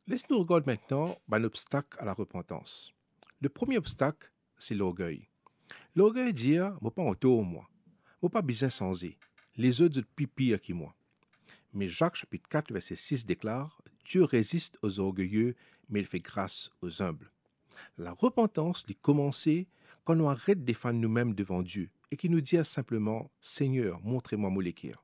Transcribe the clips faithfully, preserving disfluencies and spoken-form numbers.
Les nou regard mintnan bann obstak a larepantans. Le premie obstak, se lorgey. Lorgey dir, mo pa antor mwa, mo pa bizin sanze, lezot zot pli pir ki mwa. Me Zak sapit kat verse sis deklar, Dieu résiste aux orgueilleux, mais il fait grâce aux humbles. Larepantans, li koumanse kan nou aret defann noumem devan Die e ki nou dir sinpleman, Segner, montre mwa mo leker.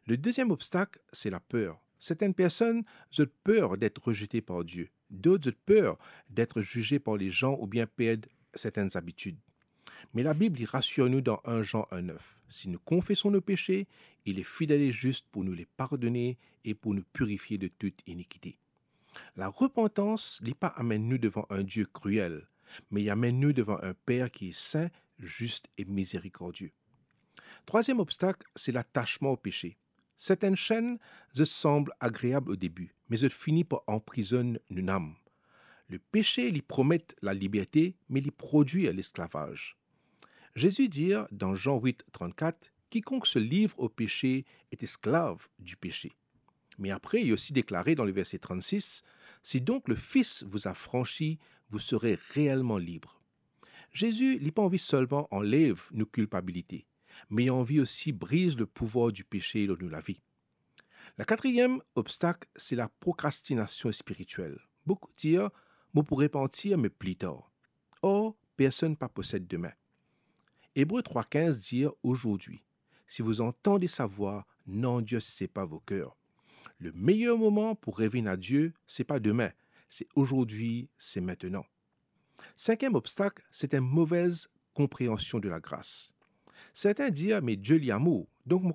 Le deziem obstak, se laper. Sertenn personn, zot per det rezete par Die. Dot, zot per det zize par lezan oubien perd sertenn zabitid. Me Labib, li rasir nou dan enn Zan enn nef, si nou konfeson nou pese, li fidel e zis pou nou le pardone e pou nou pirifie de tout inikite. Larepantans, li pa amenn nou devan enn Die kriel, me li amenn nou devan enn Per ki sin, zis e mizerikordie. Trwaziem obstak, se latasman o pese. Sertenn senn, zot sanble agreab o debi, me zot fini par anprizonn nou nam. Le pese, li promet laliberte, me li prodwir lesklavaz. Zezi dir dan Zan wit trannkat, Kikonk se livre au péché est esclave du péché. Me apre, li osi deklare dan le verse trannsis, Si donc le Fils vous affranchit, vous serez réellement libre. Zezi, li pa anvi selman anlev nou kilpabilite, me li anvi osi briz le pouvwar dipese lor nou lavi. Lakatriem obstak, se laprokrastinasion spiritiel. Boukou dir, Mo pou repantir, me pli tar. Or, personn pa posed demin. Ebre trwa kinz dir, Aujourd'hui, si vous entendez sa voix, n'endurcissez pas vos cœurs. Le meyer moman pou revinn a Die, se pa demin, se azordi, se mintenan. Sinkiem obstak, se enn move konpreansion de lagras. Serten dir, Me Die li amour, donk mo